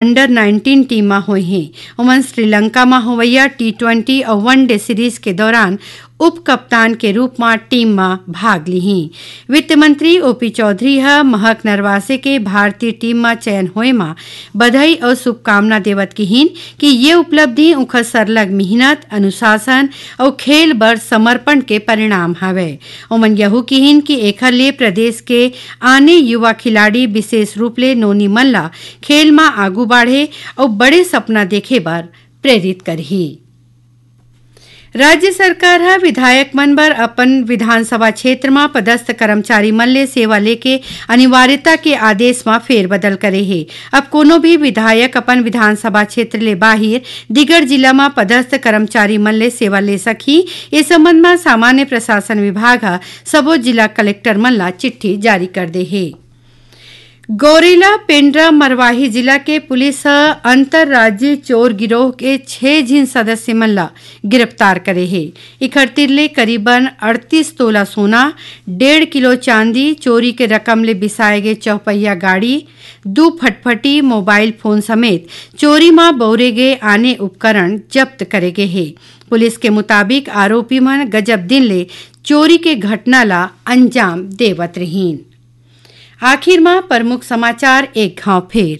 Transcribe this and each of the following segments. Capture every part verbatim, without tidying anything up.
Under nineteen team म होइहीं। ओमन श्रीलंका म होवइया टी ट्वेंटी अउ वन डे सीरीज के दौरान उप कप्तान के रूप म टीम म भाग लिहीं। वित्त मंत्री ओपी चौधरी ह महक नरवासे के भारतीय टीम म चयन होए म बधाई अउ शुभकामना देवत किहीन कि ये उपलब्धि उंखर सरलग मिहनत, अनुशासन अउ खेल बर समर्पण के परिणाम हवय। ओमन यहू किहीन कि एखर ले प्रदेश के आने युवा खिलाड़ी, विशेष रूप ले नोनी मन ला खेल म आगू बाढ़े अउ बड़े सपना देखे बर प्रेरित करही। राज्य सरकार ह विधायक मन बर अपन विधानसभा क्षेत्र म पदस्थ कर्मचारी मन ले सेवा लेके अनिवार्यता के आदेश म फेरबदल करे हे। अब कोनो भी विधायक अपन विधानसभा क्षेत्र ले बाहिर दीगर जिला म पदस्थ कर्मचारी मन ले सेवा ले सकही। ए संबंध म सामान्य प्रशासन विभाग ह सबो जिला कलेक्टर मन ला चिट्ठी जारी कर दे हे। गौरेला पेंड्रा मरवाही जिला के पुलिस ह अंतर्राज्यीय चोर गिरोह के छह झिन सदस्य मन ला गिरफ्तार करे हे। इखर तिर ले करीबन अड़तीस तोला सोना, डेढ़ किलो चांदी, चोरी के रकम ले बिसाए गे चौपहिया गाड़ी, दू फटफटी, मोबाइल फोन समेत चोरी म बउरे गे आने उपकरण जब्त करे गे हे। पुलिस के मुताबिक आरोपी मन गजब दिन ले चोरी के घटना ला अंजाम देवत रहिन। आखिर म प्रमुख समाचार एक घाव फेर।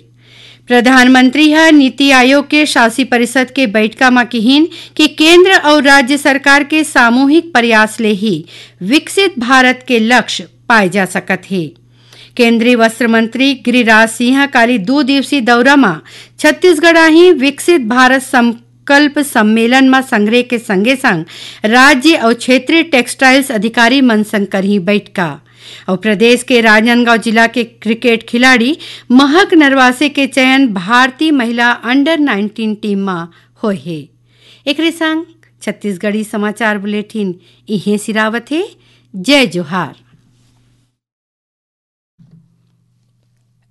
प्रधानमंत्री ह नीति आयोग के शासी परिषद के बैठका म किहीन कि केंद्र अउ राज्य सरकार के सामूहिक प्रयास ले ही विकसित भारत के लक्ष्य पाए जा सकत हे। केंद्रीय वस्त्र मंत्री गिरिराज सिंह ह काली दू दिवसीय दौरा म छत्तीसगढ़ आही। विकसित भारत संकल्प सम्मेलन म संघरे के संगे संग राज्य अउ क्षेत्रीय टेक्सटाइल्स अधिकारी मन संग करही बैठका। अउ प्रदेश के राजनांदगांव जिला के क्रिकेट खिलाड़ी महक नरवासे के चयन भारतीय महिला अंडर नाइनटीन टीम म होए हे। एकरे संग छत्तीसगढ़ी समाचार बुलेटिन इहें सिरावत हे। जय जोहार।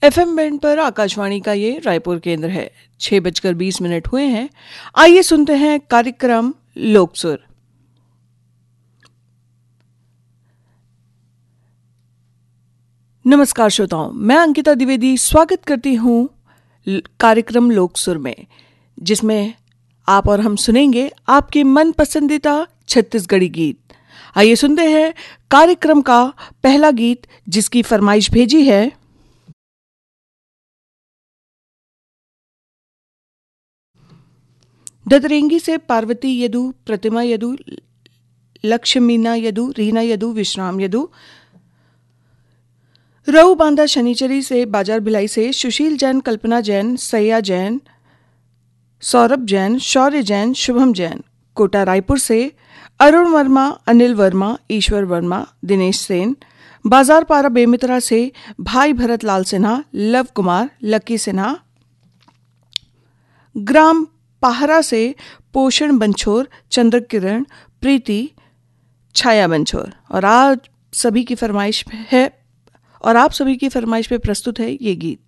एफएम बैंड पर आकाशवाणी का ये रायपुर केंद्र है। छह बजकर बीस मिनट हुए हैं। आइए सुनते हैं कार्यक्रम लोकसुर। नमस्कार श्रोताओं, मैं अंकिता द्विवेदी स्वागत करती हूँ ल-, कार्यक्रम लोकसुर में, जिसमें आप और हम सुनेंगे आपके मन पसंदीदा छत्तीसगढ़ी गीत। आइए सुनते हैं कार्यक्रम का पहला गीत, जिसकी फरमाइश भेजी है ददरेंगी से पार्वती यदु, प्रतिमा यदु, लक्ष्मीना यदु, रीना यदु, विश्राम यदु। रऊ बांधा शनिचरी से, बाजार भिलाई से सुशील जैन, कल्पना जैन, सैया जैन, सौरभ जैन, शौर्य जैन, शुभम जैन। कोटा रायपुर से अरुण वर्मा, अनिल वर्मा, ईश्वर वर्मा, दिनेश सेन। बाजार पारा बेमितरा से भाई भरत लाल सिन्हा, लव कुमार, लकी सिन्हा। ग्राम पाहरा से पोषण बंछोर, चंद्र किरण, प्रीति, छाया बंछोर। और आज सभी की फरमाइश है, और आप सभी की फरमाइश पे प्रस्तुत है ये गीत।